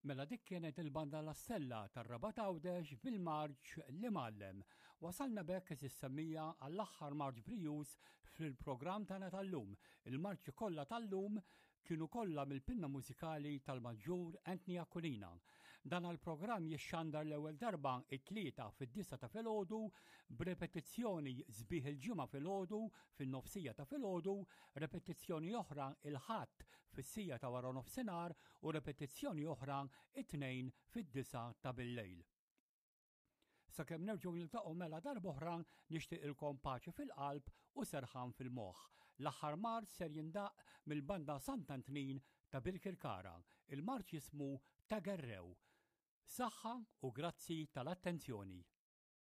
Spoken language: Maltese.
Mela dik kienet il-banda La Stella tar-Rabat Għawdex bil-marċ L-Imgħallem. Wasalna b'hekk is-semmija għall-aħħar marċ brijuż fil-programm tagħna tal-lum. Il-marċi kollha tal-lum kienu kollha mill-pinna mużikali tal-Maġġur Anthony Aquilina. Dan għall-programm jixxandar l-ewwel darba it-Tlieta fid-disgħa ta' filgħodu b'repetizzjoni sbieħ il-Ġimgħa filgħodu fin-nofsija ta' filgħodu, repetizzjoni oħra il-Ħadd fis-sija ta' waranofsinhar u repetizzjoni oħra it-Tnejn fid-disgħa ta' billejl. Sakemm nerġgħu niltaqgħu mela darb'oħra nixtieqilkom paċi fil-qalb u serħan fil-moħħ. L-aħħar marċ ser jindaqq mill-Banda Sant'Antnin ta' Birkirkara. Il-marċ jismu Ta' Gerrew. Saħħa u grazzi tal-attenzjoni.